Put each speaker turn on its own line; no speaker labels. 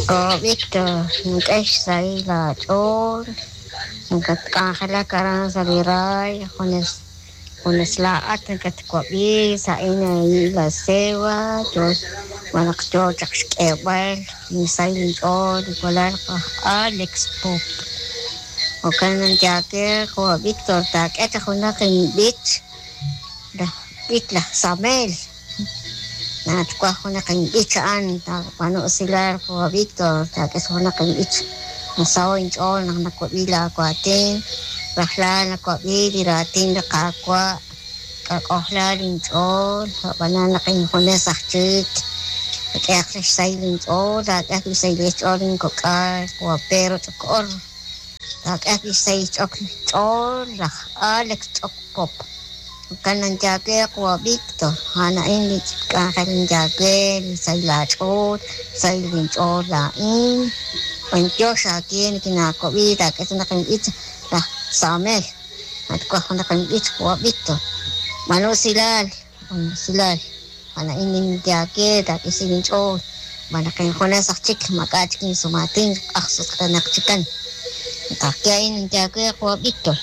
Oh, Víctor, nink'e xsahil aach'ool, nakatk'anjelak aran sa' li raay, junes junes laa'at nakatwab'i sa'in La Ceiba, yo malaj yo chaq xk'eeb'al insahil inch'ool li walal aj Alex Pop. Jo'kan ninye jo' Víctor, taak'e chaq junaq inb'ich, laj b'ich laj Samuel. Natwaj junaq inb'ich a'an, taab'aanu usilal jo' Víctor, taak'e junaq inb'ich. Nasaho' inch'ool naq nawab'i laawaatin, rajlal nawab'i li raatin li Qaawa', kak'ojla linch'ool, ab'anan naq injunes aj chik, k'ehaq xsahil inch'ool, taak'e ajwi' xsahil xch'ool linkok'al, jo' Pedro Ch'ok'or, taak'e ajwi' xsahil xch'ool laj Alex Ch'ok Pop. Jo'kan ninye jo' Víctor, a'an a'in li k'anjel ninye li sahil aach'ool, xsahil linch'ool laa'in. B'antiox aawe nikinaawab'i, taak'e junaq inb'ich laj Samuel, natwaj junaq inb'ich jo' Víctor. B'aanu usilal, b'aanu usilal, a'an a'in ninye aawe, taak'e xsahil inch'ool, xb'aan naq injunes aj chik, maak'a' chik insumaatin, q'ajsutq'enaq chikan. Ka'ajwi' a'in ninye aawe jo' Víctor.